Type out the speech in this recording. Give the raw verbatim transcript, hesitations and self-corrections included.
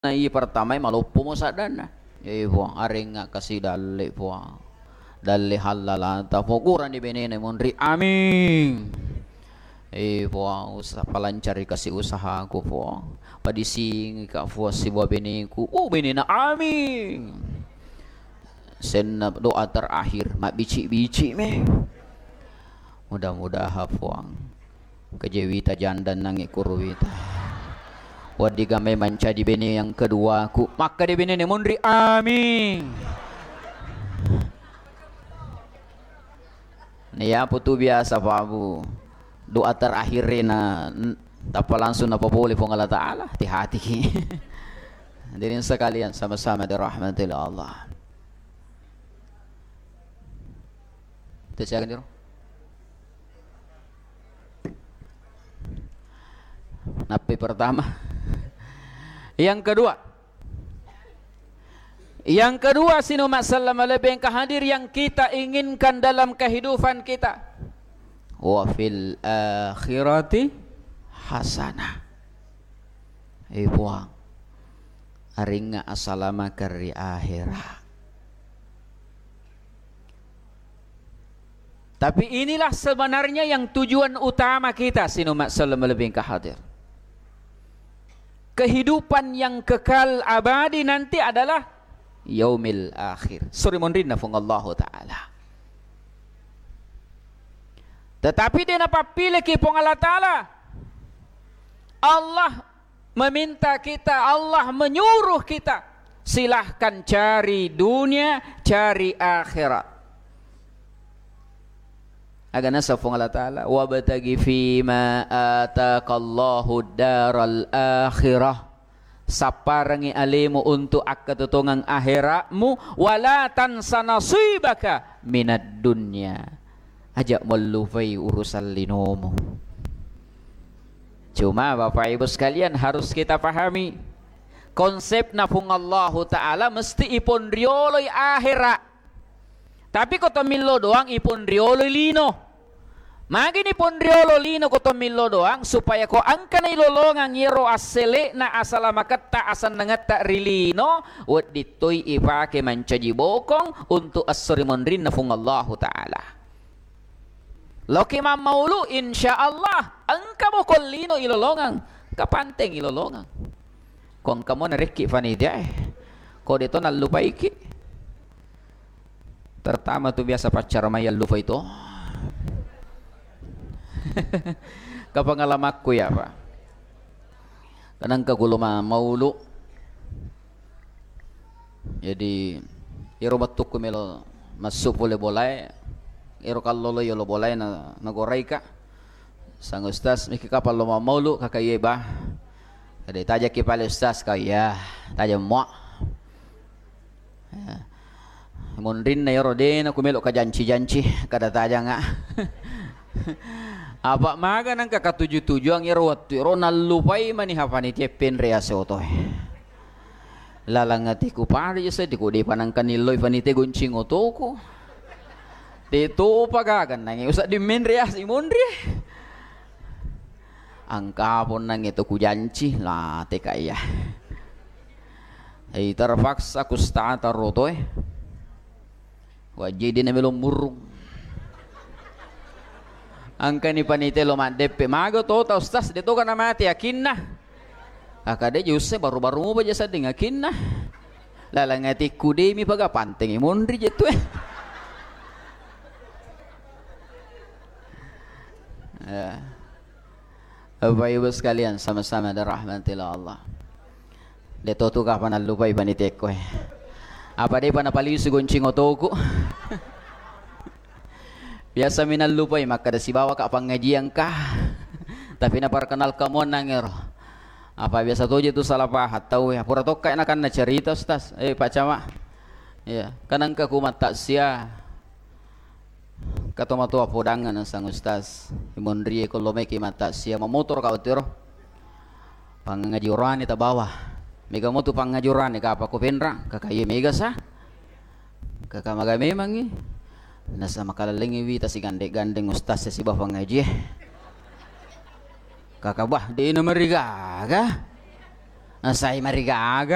Nah, iya pertama maloppo mo saddanna. Eh, Puang, arengnga kasi dalle, Puang. Dalle hallalata, Puang. Kurani benena monri. Amin. Eh, Puang, usa-, palancari kasi usahaku, Puang. Padisingi ka, Puang, sibawa beneku. Oh, benena. Amin. Senna doa terakhir, mabbici-bici me. Mudah-mudahan, Puang. Kejewita janda nangi kuruwita. Waddiga mai mancaji bene yang kedua ku. Makkeda benene monri, amin. Nah, iya putu biasa, Pak Bu. Doa terakhir na, n-, tappa langsung napapole Puang Allah Ta'ala. Hati-hati ki. Hadirin sekalian, sama-sama dirahmati Allah. Tesiakan jero. Nappi pertama. Yang kedua. Yang kedua, sinu masallam lebih engka hadir yang kita inginkan dalam kehidupan kita. Wa fil akhirati hasanah. Eh, Puang, aringnga asalamakeng ri ahera. Tapi inilah sebenarnya yang tujuan utama kita, sinu masallam lebih engka hadir. Kehidupan yang kekal abadi nanti adalah yaumil akhir. Suri monrinna Puang Allahu Ta'ala. Tetapi de napappileki Puang Allah Ta'ala. Allah meminta kita, Allah menyuruh kita, silahkan cari dunia, cari akhirat. Aga nasa Puang Allah Ta'ala, "Wabtaghi fima atakallahu daral akhirah." Sapparengngi alemu untuk akkatutongeng aherakmu, "Wala tansa nasibaka minad dunya." Aja mellupai urusan linomu. Cuma, Bapak Ibu sekalian, harus kita pahami, konsepna Puang Allahu Ta'ala mesti iponrioloi ahera. Tapi ko to millo doang iponrioloi lino. Magini ponriolo lino ko to millo doang, supaya ko engkana ilolongang iyaro assele'na, asalamaketta, asennengetta ri lino, wedding toi ipake mancaji bokong untuk esso ri monrinna Puang Allahu Ta'ala. Loki mammaulu, insya Allah, engka bokong lino ilolongang, kapanteng ilolongang. Ko engka mo narekki panitia e, ko de to nallupaiki. Terutama tu biasa paccara mai allupai to. Kapangalamakku ya, Pak. Kadang ka kulo ma-, maulu. Jadi, ero wettukku melo massu pole bolae, ero kallolo yolo bolae na, nagoraika. Sang Ustaz, miki kapang lo mammaulu, kaka iye, bah. Kade tajaki pale Ustaz, ka iya, tajang mua. Ya. Monrinna iyaro de na ku melo kajanci-janci, kada tajanga. Apa maga nangka katuju-tujuang iyaro wettu iyaro nallupai mani ha panitia penre ase otoe. Lalang atiku pada je seddi ko de panangka nilloi panitia goncing otoku. De topa gaga nangi usa di menre ase monri. Angka pon nangi to kujanci, la teka iya. Hei, terpaksa kustata rotoe. Wajidi na melo murrung. Angkani panitia lo maddeppe. Maga tota Ustaz, de toka na mate yakinna. Kaka de je usse baru-baru mupa je sedding yakinna. Lalang atikku de mi paga pantengi monri je tu e. Ya. Bapak Ibu sekalian, sama-sama dirahmati Allah. De to tu kapan allupai panitiaku e. Apa de pa napalisu goncing otoku. Biasa mi nallupai makkada sibawa ka pangajian ka. Tapi naperkenalka muannang ero. Apa biasa toje tu salah paham tau e. Pura tokka nakanna cerita Ustaz. Eh, Pak Camat. Iya, kanangka ku mattasia. Katomatoa podangnga nasang Ustaz. Imonrie ko lo meki mattasia. Mamotoro ka wettu ero. Pangaji urane tabawa. Mega motu pangaji urane kapa ko penra. Kaka iye mega sa. Kaka maga memangi. Nasa makalallengi wita sigande-gandeng Ustaz siba pangaji e. Kaka bah, de na marigaga. Nasai marigaga.